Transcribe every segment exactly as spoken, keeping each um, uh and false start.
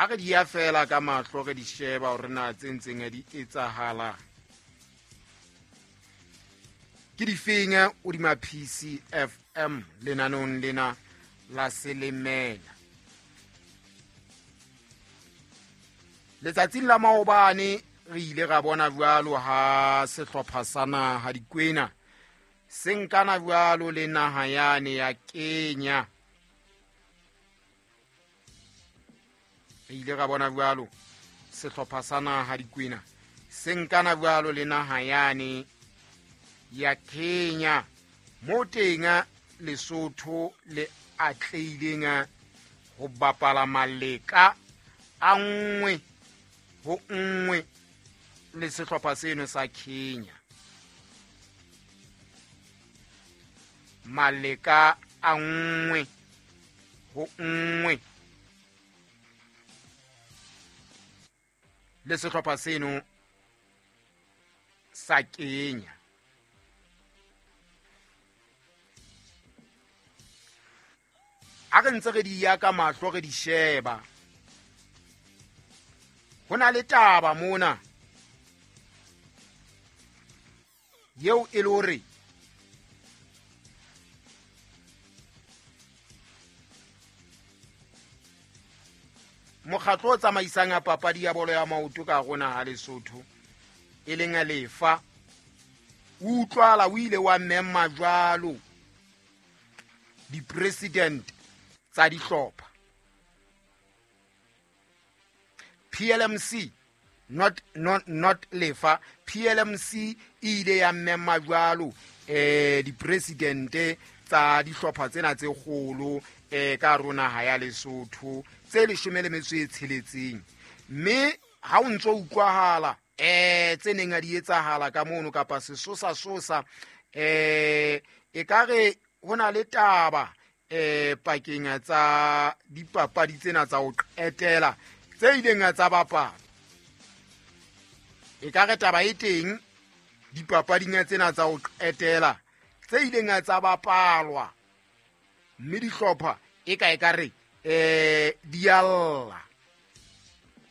A re di ya fela ka mahlo re di sheba hore na tse ntseng di etsahala ke difeng hodima P C F M lenaneong lena la Selemela. Letsatsing la maobane re ile ra bona jwalo ha sehlopha sa naha Dikwena se nkana jwalo le naha yane ya Kenya. Re ile ra bona jwalo sehlopha sa naha Dikwena se nkana jwalo le naha yane ya Kenya, mo teng Lesotho le atlehileng ho bapala maleka a nngwe ho nngwe le sehlopha seno sa Kenya. Maleka a nngwe ho nngwe le sehlopha seno sa Kenya. A re ntse re di ya ka mahlo re di sheba, ho na le taba mona yeo e le hore mokgatlo o tsamaisang papadi ya bolo ya maoto ka rona ha Lesotho e leng Lefa o utlwala o ile wa mema jwalo di-president tsa dihlopha. P L M C not not not Lefa, P L M C e ile ya mema jwalo eh di-president tsa dihlopha tsena tse kgolo eh ka rona ha ya Lesotho tse leshome le metso e tsheletseng. Mme ha o ntso utlwahala eh tse neng a di etsahala ka mono kapa sesosa sosa eh e ka re ho na le taba eh pakeng tsa dipapadi tsena tsa ho qetela tse ileng tsa bapala. E ka re taba e teng dipapading tsena tsa ho qetela tse ileng tsa bapalwa, mme dihlopha e ka e ka re eh di alla.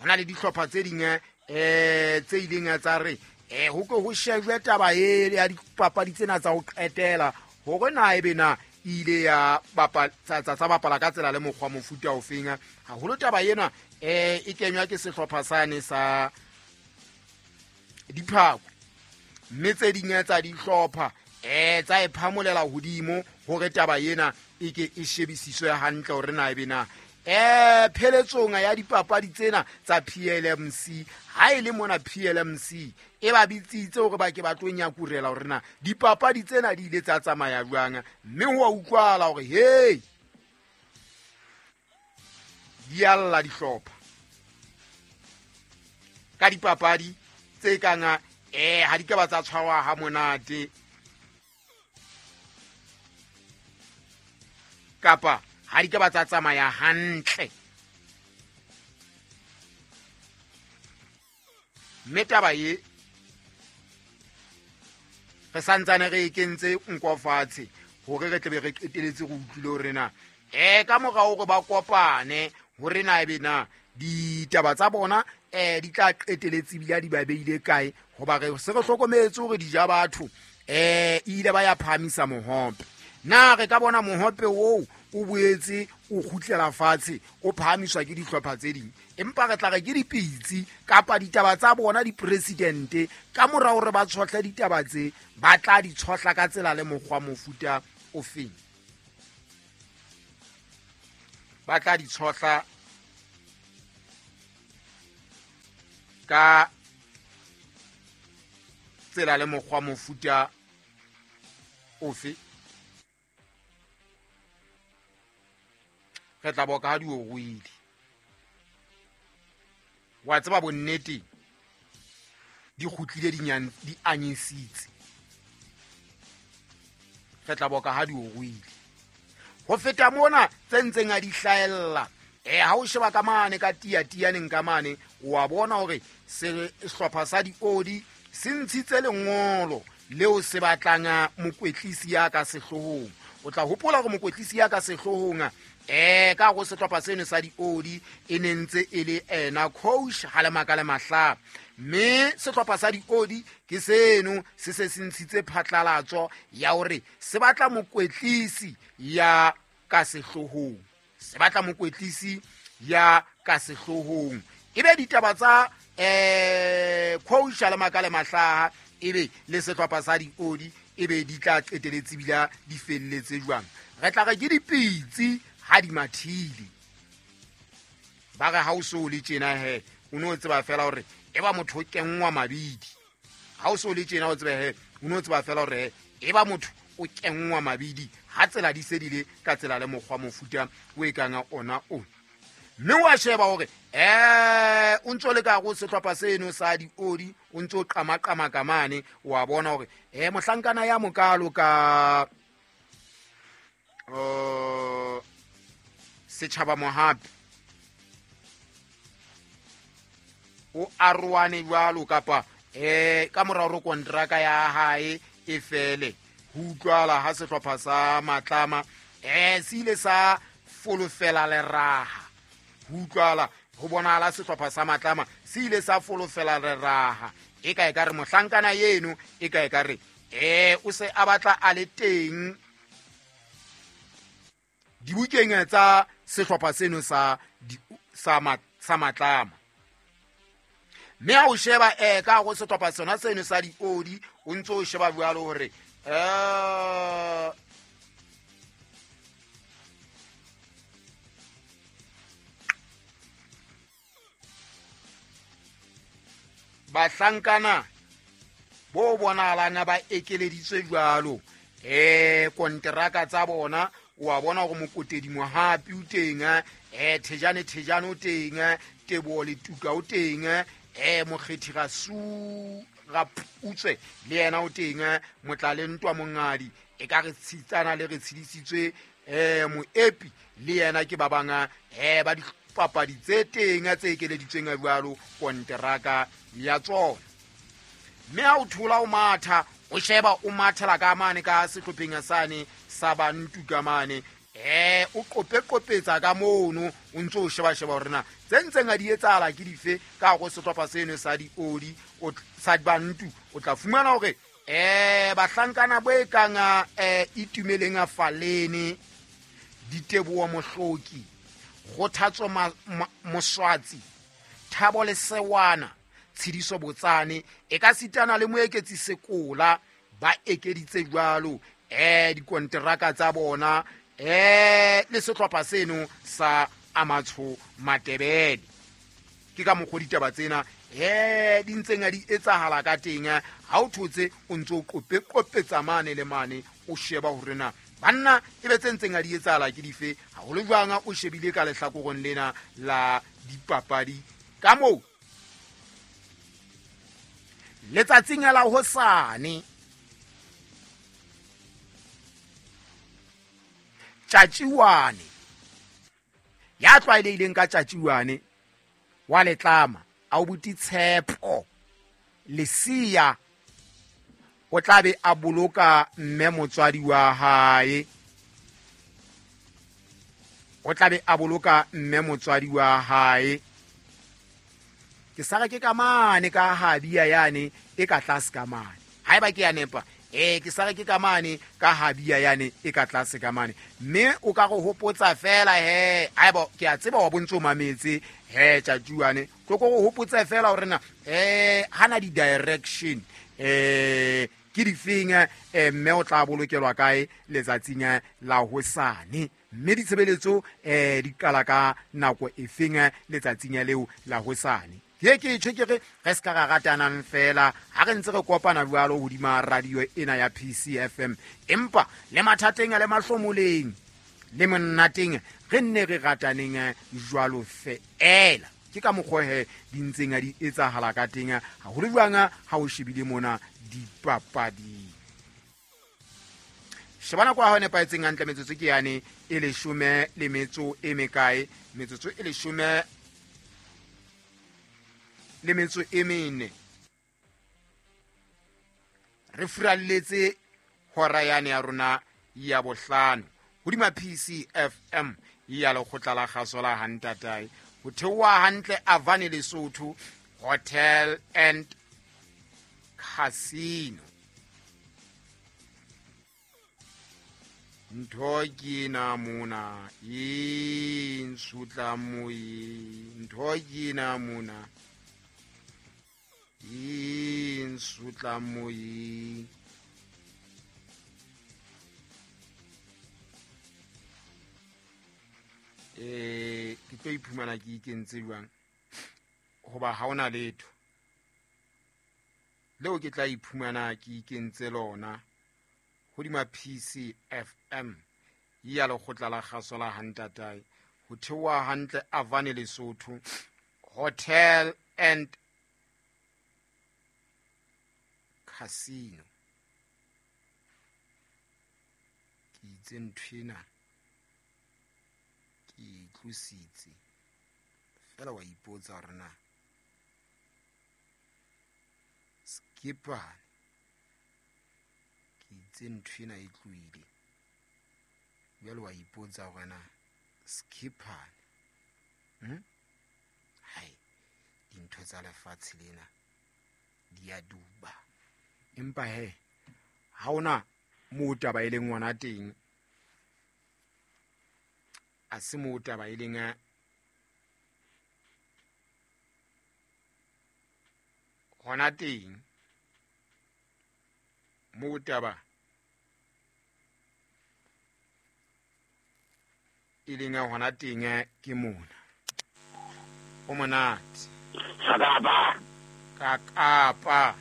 Hona le dihlopha tse ding eh tse ileng tsa re eh ho ke ho shejwe taba e ya dipapadi tsena tsa ho qetela hore na ebe na ile ya bapala tsa tsa bapala ka tsela le mokgwa mofuta ofeng. Haholo taba ena eh e kenywa ke sehlopha sane sa Diphako, mme tse ding tsa dihlopha eh tsa e phamolela hodimo hore taba ena e ke e shebisiswe hantle hore na ebe na eh pheletsong ya dipapadi tsena tsa P L M C. Ha e le mona P L M C e ba bitsitse hore ba ke ba tlo nyakurela hore na dipapadi tsena di ile tsa tsamaya jwang, mme ho a utlwala hore hey di alla dihlopha ka dipapadi tse kang eh ha di ka ba tsa tshwarwa ha monate kapa ha di ka ba tsa tsamaya hantle. Mme taba e re santsane re e kentse nko fatshe hore re tle be re qeteletse re utlwile hore na eh ka mora hore ba kopane hore na ebe na ditaba tsa bona eh di tla qeteletse ebile di ba beile kae, hoba re se re hlokometse hore di ja batho eh ile ba ya phahamisa mohope. Na re ka bona mohope oo o boetse o kgutlela fatshe o phahamiswa ke dihlopha tse ding, empa re tla re ke dipitsi kapa ditaba tsa bona dipresidente ka mora hore ba tshohle ditaba tse ba tla di tshohla ka tsela le mokgwa mofuta ofeng. Ba tla di tshohla ka tsela le mokgwa mofuta ofe. Re tla boka ha di o ruile. Wa tseba bonnete di kgutlile di di anyisitse. Re tla boka ha di o ruile. Ho feta mona tse ntseng a di hlaella eh ha o sheba ka mane ka tia tianeng ka mane wa bona hore sehlopha sa diodi se ntshitse lengolo leo se batlang mokwetlisi ya ka sehloohong O tla hopola hore mokwetlisi ya ka sehloohong eh ka go sehlopha seno sa diodi e ne ntse e le ena coach Halemaka le Mahla. Mme sehlopha sa diodi ke seno se se se ntshitse phatlalatso ya hore se batla mokwetlisi ya ka sehloohong, se batla mokwetlisi ya ka sehloohong. Ebe ditaba tsa eh coach Halemaka le Mahla ebe le sehlopha sa diodi ebe di tla qeteletse bila di felletse jwang. Re tla re ke dipitsi ha di mathile. Ba re ha o so le tjena he o no tseba fela hore e ba motho o kenngwa mabidi. Ha o so le tjena o tsebe he o no tseba fela hore e ba motho o kenngwa mabidi ha tsela di sedile ka tsela le mokgwa mofuta o e kang ona o. Mme wa sheba hore eh o ntso le ka go sehlopha seno sa diodi o ntso qama qama ka mane wa bona hore eh mohlankana ya mokalo ka uh Setjhaba Mohapi o aroane jwalo kapa eh ka mora hore kontraka ya hae e fele ho utlwala ha sehlopha sa Matlama eh se ile sa folofela leraha. Ho utlwala ho bonahala sehlopha sa Matlama se ile sa folofela leraha e ka e ka re mohlankana yeno e ka e ka re eh o se a batla a le teng dibukeng tsa sehlopha seno sa sa sa Matlama. Mme ha o sheba eh ka go sehlopha sona seno sa diodi o ntso o sheba jwalo hore eh bahlankana bo bonahalang ba ekeleditswe jwalo eh kontraka tsa bona. Wa bona hore Mokotedi Mohapi o teng, eh Thejane Thejane o teng, Teboho Letuka o teng, eh Mokgethi Rasu Raputswe le yena o teng, Motlale Ntwa Mongadi e ka re tshitsana le re tshidisitswe eh Moepi le yena ke ba bang eh ba dipapadi tse teng tse ekeleditsweng jwalo kontraka ya tsona. Mme ha o thola o matha o sheba o mathela ka mane ka sehlopheng sane sa bantu ka mane eh o qope qopetsa ka mono o ntso o sheba sheba hore na tse ntseng a di etsahala ke dife ka go sehlopha seno sa diodi o sa bantu. O tla fumana hore eh bahlankana bo e kang eh Itumeleng a Falene, Diteboho Mohloki, Kgothatso Moswatsi, Thabo Lesewana, Tshidiso Botsane e ka sitana le Moeketsi Sekola ba ekeditse jwalo eh dikonteraka tsa bona eh le sehlopha seno sa Amatsho Matebele. Ke ka mokgwa ditaba tsena eh di ntseng a di etsahala ka teng. Ha o thotse o ntso qope qopetsa mane le mane o sheba hore na banna e be tse ntseng a di etsahala ke dife haholo jwang o shebile ka lehlakoreng lena la dipapadi ka moo. Letsatsing la hosane Tjatjiwane ya tlwaelehileng ka Tjatjiwane wa Letlama a o buti Tshepo Lesia o tla be a boloka mme motswadi wa hae, o tla be a boloka mme motswadi wa hae. Ke sara ke ka mane ka habia yane e ka tlase ka mane haeba ke ya nepa eh ke sara ke ka mane ka habia yane e ka tlase ka mane. Mme o ka go hopotsa fela he haeba ke a tseba wa bontso mametse he Tjatjiwane tlo go hopotsa fela hore na eh hana di direction eh ke difeng eh mme o tla bolokelwa kae letsatsing la hosane. Mme ditshebeletso eh di qala ka nako efeng letsatsing leo la hosane. Ke ke tjhe ke re re ska ra ratanang fela ha re ntse re kopana jwalo hodima radio ena ya P C F M, empa le mathateng le mahlomoleng le monnateng re nne re rataneng jwalo feela. Ke ka mokgwa he di ntseng a di etsahala ka teng haholo jwang ha o shebile mona dipapading. Sheba nako ya hao nepahetseng hantle, metsotso ke yane e leshome le metso e mekae, metsotso e leshome le metso e mene. Re furalletse hora yane ya rona ya bohlano hodima P C F M ya lekgotla la kgaso la Hantatae ho theoha hantle Avani Lesotho Hotel and Casino. Ntho ke na mona e nsutla moyeng, ntho ke na mona e nsutla moyeng. Eh ke tlo iphumana ke ikentse jwang hoba ha ona letho leo ke tla iphumana ke ikentse lona hodima P C F M ya lekgotla la kgaso la Hantatae ho theoha hantle Avani Lesotho Hotel and Casino. Ke itse nthwena ke itlositse fela wa ipotsa hore na skipane ke itse nthwena e tlohile jwale wa ipotsa hore na skipane hm hai dintho tsa lefatshe lena di a duba empa he ha ona moo taba e leng ngwana teng a se moo taba e leng hona teng moo taba e leng hona teng ke mona o monate sakapa ka kapa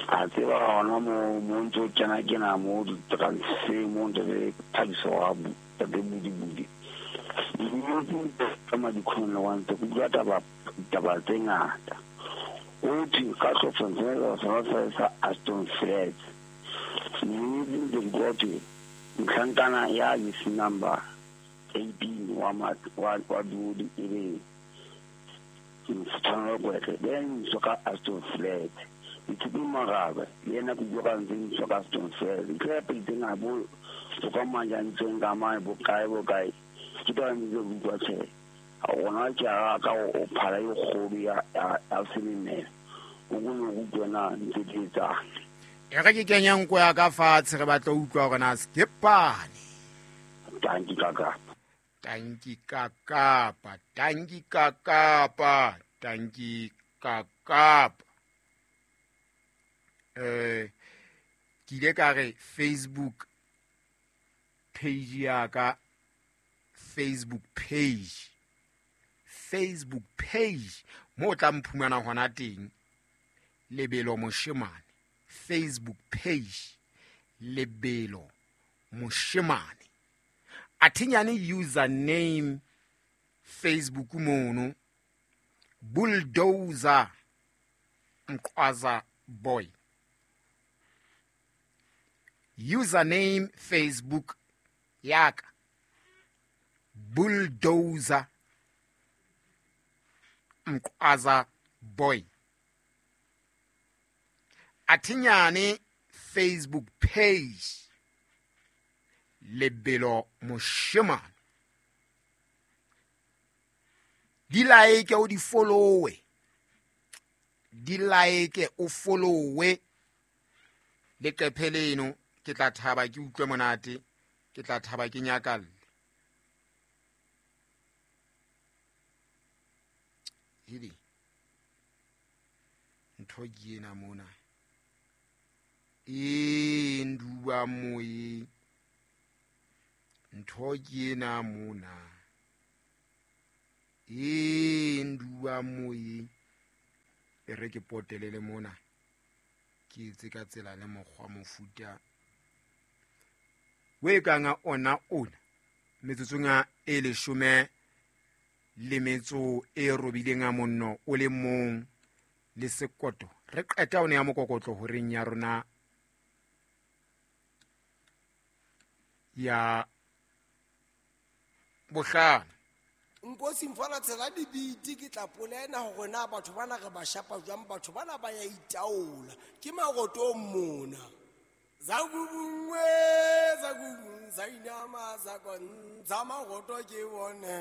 a tseba hona mo mo ntse kena kena mo di-transfer mo ntse re thabiso wa tate budi budi ka madikhong le wa ntse ke bua taba taba tse ngata o thwe ka hlopha sa sa Aston Flats mme ke gote ntlhankana ya is number eighteen wa wa wa dudi ebe mfutano kwetle then so ka Aston Flats ithupi marabe le yena ke bua ka ntse so ka Aston Flats ke pele nga bo so ka manja ntseng ka mane bo kae bo kae ke tla ntse bua tjhe a ona ke a ka o phala e kgolo ya ya selemela o go no go na ntse di tsa e re ke kenya nko ya ka fatshe re batla utlwa hore na skepane tanki ka kapa tanki ka kapa tanki ka kapa tanki ka kapa eh ke ile ka re Facebook page ya ka Facebook page Facebook page mo tla mphumana hona teng Lebelo Moshemane Facebook page Lebelo Moshemane athinyane username Facebook mono Bulldozer Mqwaza Boy username Facebook yaka Bulldozer Mqwaza Boy athinyane Facebook page Lebelo Moshemane di like o di follow di like o follow leqephe leno ke tla thaba ke utlwe monate ke tla thaba ke nyakalle hidi ntho ke ena mona e nduba moye ntho ke ena mona e nduba moye e re ke potelele mona ke etse ka tsela le mokgwa mofuta we kanga ona ona metsotsong e leshome le metso e robileng a monno o le mong le sekoto re qeta one ya mokokotlo horeng ya rona ya bohlano. Nkosi mfana tsela dibiti ke tla polena hore na batho bana re ba shapa jwang, batho bana ba ya itaola ke marotong mona. Zakubungwe, zakubung, zainama, zakon, zamagoto ke bone.